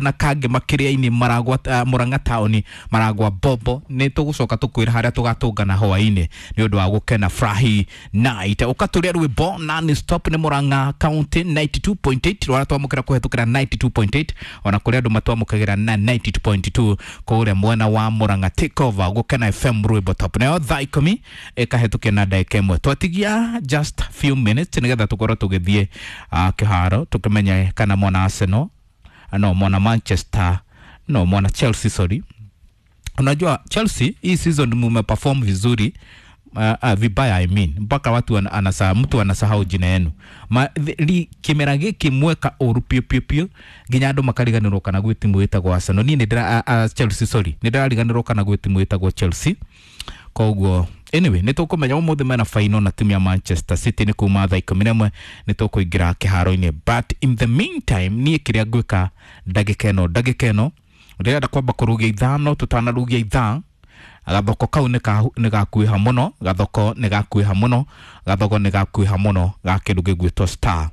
na Kangema kĩrĩa-inĩ, Maragwa, Murang'a taũni, Maragwa Bobo. Nĩ tũgũcoka tũkwĩra harĩa tũgatũngana hwaĩ-inĩ nĩ ũndũ wa gũkena Furahi Night. Ũkatũrĩa rwĩmbo non stop nĩ Murang'a County 92.8, rwara twamũkĩra kũhetũkĩra 92.8, ona kũrĩa andũ matwamũkagĩra na 92.2 kũrĩa mwena wa Murang'a. Take over Gũkena FM, rwĩmbo top. Nayo thaa 10 ĩkahetũkia na ndagĩka 1, twatigia just few minutes nĩgetha tũkorwo tũgĩthiĩ kĩharo tũkĩmenye kana mwana Arsenal, no mwana Manchester, no mwana Chelsea, sorry. Unajua Chelsea hii season mumeperform vizuri, vibaya I mean, mpaka watu mtu anasahau jina yenu. Kimera gĩkĩ mweka ũru piũ piũ piũ nginya andũ makariganĩrwo kana gwĩ timu ĩtagwo Arsenal. Niĩ nĩ Chelsea, sorry, nĩ ndĩrariganĩrwo kana gwĩ timu ĩtagwo Chelsea. Koguo anyway, nĩ tũkũmenya ũmũthĩ mena final na timu ya Manchester City nĩ kuma thaa 11 nĩ tũkũingĩra kĩharo-inĩ. But in the meantime, niĩ kĩrĩa ngwĩka ndagĩka ĩno ndĩrenda kwamba kũrugia 5, tũtanarugia ithaa. Gathoko kau nĩ gakuĩha mũno, gathoko nĩ gakuĩha mũno, gathoko nĩ gakuĩha mũno ga kĩndũ gĩgwĩtwo star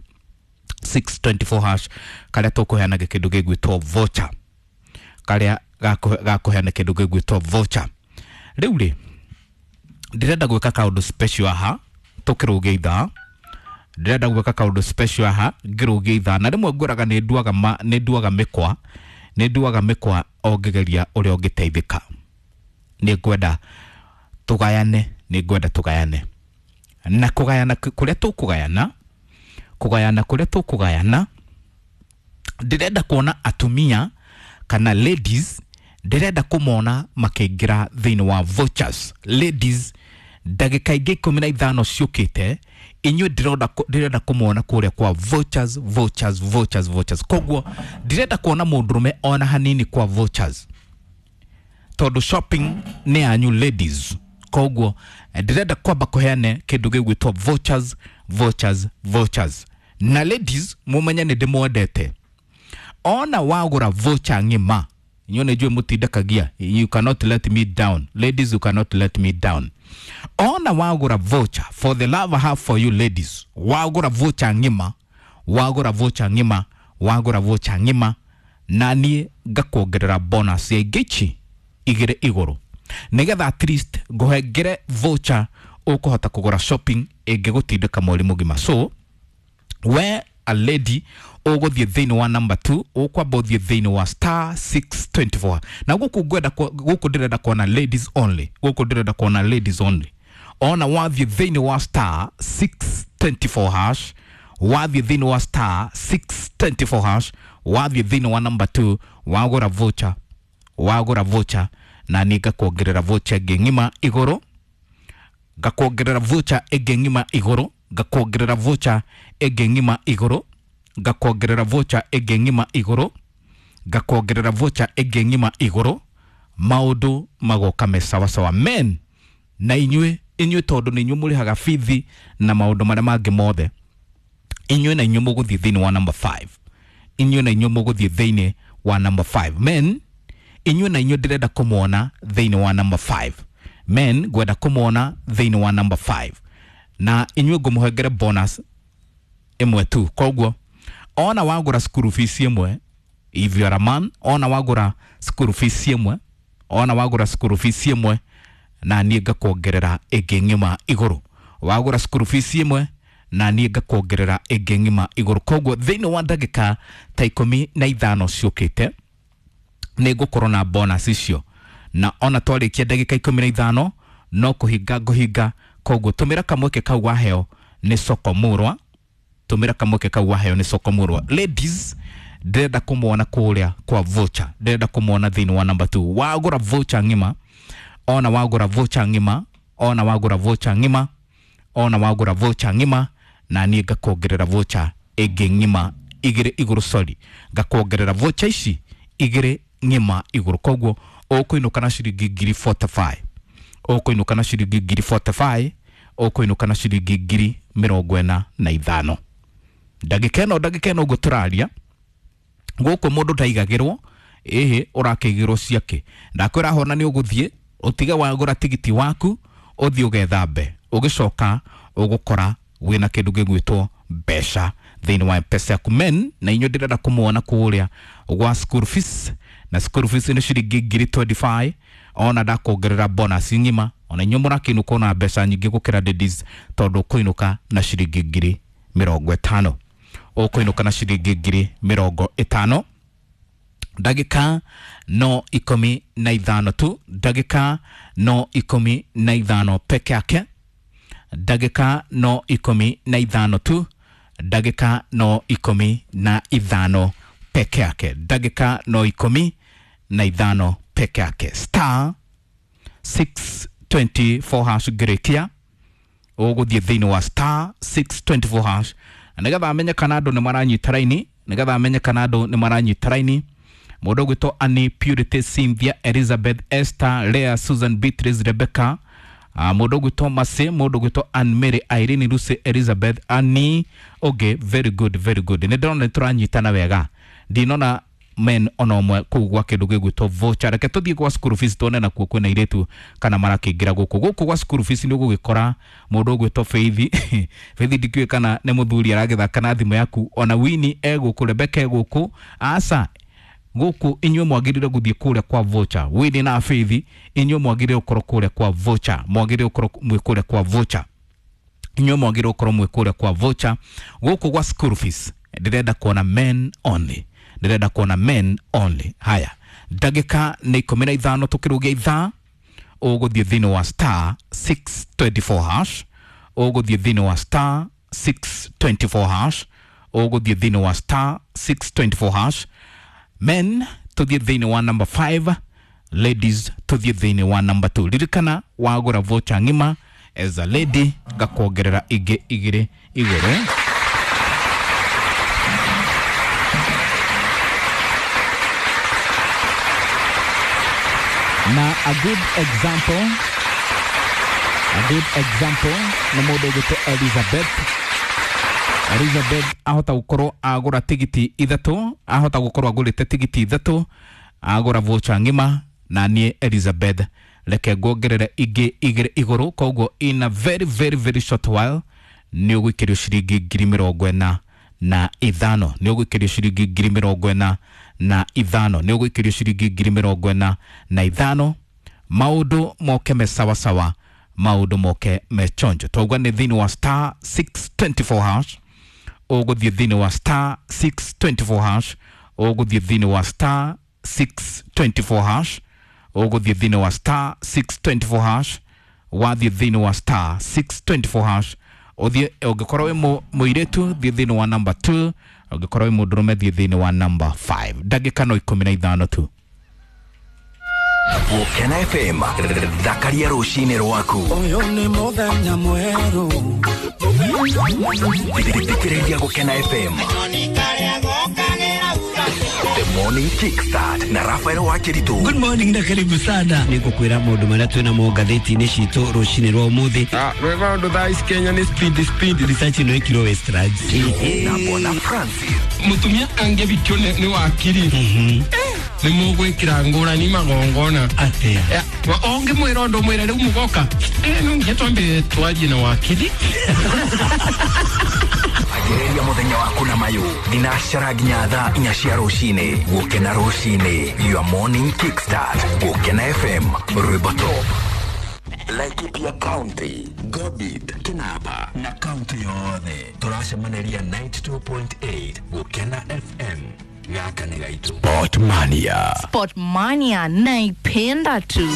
624 hash, karĩa tũkũheana kĩndũ gĩgwĩtwo voucher, karĩa gakũheana kĩndũ gĩgwĩtwo voucher. Rĩu rĩ, ndĩrenda gwĩka kaũndũ special haha tũkĩrũgia ithaa. Ndĩrenda gwĩka kaũndũ special haha ngĩrũgia ithaa, na rĩmwe ngwĩraga nĩ nduaga mĩkwa, nĩ nduaga mĩkwa o ngĩgeria ũrĩa ũngĩteithĩka. Nĩ ngwenda tũgayane, nĩ ngwenda tũgayane, na kũgayana kũrĩa tũkũgayana, kũgayana kũrĩa tũkũgayana, ndĩrenda kuona atumia kana ladies, ndĩrenda kũmona makĩingĩra thĩinĩ wa vouchers. Ladies, ndagĩka ingĩ 15 ciũkĩte, inyuĩ ndĩrenda kũmona kũrĩa kwa vouchers, vouchers, vouchers, vouchers. Koguo ndĩrenda kuona mũndũrũme ona hanini kwa vouchers, tondũ shopping nĩ yanyu ladies. Koguo ndĩrenda kwamba kũheane kĩndũ gĩgwĩtwo vouchers, vouchers, vouchers. Na ladies, mũmenye nĩ ndĩmwendete. Ona wagũra voucher ng'ima, inyuĩ nĩ njũĩ mũtindakagia. You cannot let me down, ladies, you cannot let me down. Ona wagũra voucher, for the love I have for you ladies, wagũra voucher ng'ima, wagũra voucher ng'ima, wagũra voucher ng'ima, na niĩ ngakuongerera bonus ya ingĩ ici 2 igũrũ, nĩgetha at least ngũhengere voucher ũkũhota kũgũra shopping ĩngĩgũtindĩka mweri mũgima. So we a lady, ũgũthiĩ thĩinĩ wa number 2, ũkwamba ũthiĩ thĩinĩ wa star 624, na gũkũ ngwenda gũkũ ndĩrenda kuona ladies only, gũkũ ndĩrenda kuona ladies only. Ona wathiĩ thĩinĩ wa star 624 hash, wathiĩ thĩinĩ wa star 624 hash, wathiĩ thĩinĩ wa number 2, wagũra voucher, wagũra voucher, na niĩ ngakuongerera voucher ĩngĩ ng'ima igũrũ, ngakuongerera voucher ĩngĩ ng'ima igũrũ, ngakuongerera voucher ĩngĩ ng'ima igũrũ, ngakuongerera voucher ĩngĩ ng'ima igũrũ, ngakuongerera voucher ĩngĩ ng'ima igũrũ. Maũndũ magoka me sawasawa. Men, na inyuĩ tondũ nĩ inyuĩ mũrĩhaga bithi na maũndũ marĩa mangĩ mothe, inyuĩ na inyuĩ mũgũthiĩ thĩinĩ wa number 5. Inyuĩ na inyuĩ mũgũthiĩ thĩinĩ wa number 5. Men, inyuĩ na inyuĩ ndĩrenda kũmwona thĩinĩ wa number 5. Men, ngwenda kũmwona thĩinĩ wa number 5, na inyuĩ ngũmũhengere bonus 1 tu. Koguo ona wagũra school fees 1, if you are a man, ona wagũra school fees 1, ona wagũra school fees 1, na niĩ ngakuongerera ĩngĩ ng'ima igũrũ. Wagũra school fees 1, na niĩ ngakuongerera ĩngĩ ng'ima igũrũ. Koguo thĩinĩ wa ndagĩka ta 15 ciũkĩte nĩ ngũkorwo na bonus icio, na ona twarĩkia ndagĩka 15 no kũhinga ngũhinga. Koguo tũmĩra kamweke kau waheo nĩ Soko Murwa, tũmĩra kamweke kau waheo nĩ Soko Murwa. Ladies, ndĩrenda kũmwona kũrĩa kwa voucher, ndĩrenda kũmwona thĩinĩ wa number 2. Wagũra voucher ng'ima, ona wagũra voucher ng'ima, ona wagũra voucher ng'ima, ona wagũra voucher ng'ima, na niĩ ngakuongerera voucher ĩngĩ ng'ima 2 igũrũ, sorry, ngakuongerera voucher ici 2 ng'ima igũrũ. Koguo ũkũinũka na ciringi ngiri 45, ũkũinũka na ciringi ngiri 45, ũkũinũka na ciringi 45,000 ndagĩka ĩno ũguo tũraria. Gũkũ mũndũ ndaigagĩrwo, ĩhĩ, ũrakĩigĩrwo ciake. Ndakwĩra hona nĩ ũgũthiĩ ũtige wagũra tigiti waku, ũthiĩ ũgethambe, ũgĩcoka ũgũkora wĩna kĩndũ gĩgwĩtwo mbeca. Thĩinĩ wa Mpesa yaku men na inyuĩ ndĩrenda kũmuona kũrĩa gwa school fees, na school fees nĩ ciringi ngiri 25 ona ndakuongerera bonus ng'ima. Ona inyuĩ mũrakĩinũka ona mbeca nyingĩ gũkĩra ladies, tondũ ũkũinũka na ciringi ngiri mĩrongo ĩtano, ũkũinũka na ciringi ngiri mĩrongo ĩtano. Ndagĩka no 15 tu, ndagĩka no 15 peke yake, ndagĩka no 15 tu, ndagĩka no 15 peke yake, ndagĩka no 15 peke yake. Star 624 hash ngĩrĩkia ũgũthiĩ thĩinĩ wa star 624 hash nĩgetha amenye kana andũ nĩ maranyita raini, nĩgetha amenye kana andũ nĩ maranyita raini. Mũndũ ũgwĩtwo Annie, Purity, Cynthia, Elizabeth, Esther, Leah, Susan, Beatrice, Rebecca, mũndũ ũgwĩtwo Mercy, mũndũ ũgwĩtwo Ann Mary, Irene, Lucy, Elizabeth, Annie. Okay, very good, very good. Nĩ ndĩrona nĩ tũranyitana wega, ndinona men ona ũmwe kũu gwa kĩndũ gĩgwĩtwo voucher. Reke tũthiĩ gwa school fees tuone nakuo kwĩna airĩtu kana marakĩingĩra gũkũ. Gũkũ gwa school fees nĩ ũgũgĩkora mũndũ ũgwĩtwo Faith. Faith ndikĩũĩ kana nĩ mũthuri aragĩthaka na thimũ yaku. Ona Winnie e gũkũ, Rebecca e gũkũ. Aca gũkũ inyuĩ mwagĩrĩire gũthiĩ kũrĩa kwa voucher. Winnie na Faith, inyuĩ mwagĩrĩire gũkorwo kũrĩa kwa voucher, mwagĩrĩire gũkorwo mwĩ kũrĩa kwa voucher, inyuĩ mwagĩrĩire gũkorwo mwĩ kũrĩa kwa voucher. Gũkũ gwa school fees ndĩrenda kuona men only, ndĩrenda kuona men only. Haya, ndagĩka nĩ 15 tũkĩrũgia ithaa, ũgũthiĩ thĩinĩ wa star 624 hash, ũgũthiĩ thĩinĩ wa star 624 hash, ũgũthiĩ thĩinĩ wa star 624 hash. Men tũthiĩ thĩinĩ wa number 5, ladies tũthiĩ thĩinĩ wa number 2. Ririkana wagũra voucher ng'ima as a lady ngakuongerera ingĩ igĩrĩ igũrũ. Na a good example, a good example nĩ mũndũ ũgwĩtwo Elizabeth. Elizabeth ahota gũkorwo agũra tigiti ithatũ, ahota gũkorwo agũrĩte tigiti ithatũ, agũra voucher ng'ima, na niĩ Elizabeth reke nguongerere ingĩ igĩrĩ igũrũ. Koguo in a very very very short while nĩ ũgũikĩrio ciringi ngiri mĩrongo ĩna na ithano, nĩ ũgũikĩrio ciringi ngiri mĩrongo ĩna na ithano, nĩ ũgũikĩrio ciringi ngiri mĩrongo ĩna na ithano. Maũndũ moke me sawasawa, maũndũ moke me chonjo. Twauga nĩ thĩinĩ wa star 624 hash, ũgũthiĩ thĩinĩ wa star 624 hash, ũgũthiĩ thĩinĩ wa star 624 hash, ũgũthiĩ thĩinĩ wa star 624 hash, wathiĩ thĩinĩ wa star 624 hash. Ũthiĩ, ũngĩkorwo wĩ mũirĩtu thiĩ thĩinĩ wa number 2, ũngĩkorwo wĩ mũndũrũme thiĩ thĩinĩ wa number 5. Ndagĩka no 15 tu. Gũkena FM, thakaria rũcinĩ rwaku. Ũyũ nĩ mũthenya mwerũ. Thikĩrĩria Gũkena FM. The Morning Kickstart na Rafael Wakiritu. Good morning na karibu sana. Nĩngũkwĩra maũndũ marĩa twĩna mo ngathĩti-inĩ citũ rũcinĩ rwa ũmũthĩ. Rwĩ maũndũ thaa ici Kenya nĩ speed speed. Research ĩno ĩkirwo Westlands. Na Bwana Francis. Mũtumia angĩbikio nĩ wakiri. Nĩ mũgwĩkĩra ngũrani magongona. Atĩa? Ũngĩmwĩra ũndũ mwĩre rĩu mũgoka. No nginya twambe twarie na wakiri. Anjĩrĩria mũthenya waku na mayũ thinacara nginya thaa 4 cia rũcinĩ. Gũkena rũcinĩ, your morning kickstart. Gũkena FM, rwĩmbo top. Laikipia County, Gobit, Kinapa na kaunti yothe tũracemanĩria 92.8 Gũkena FM. Gaka nĩ gaitũ. Sportmania. Sportmania naipenda tu.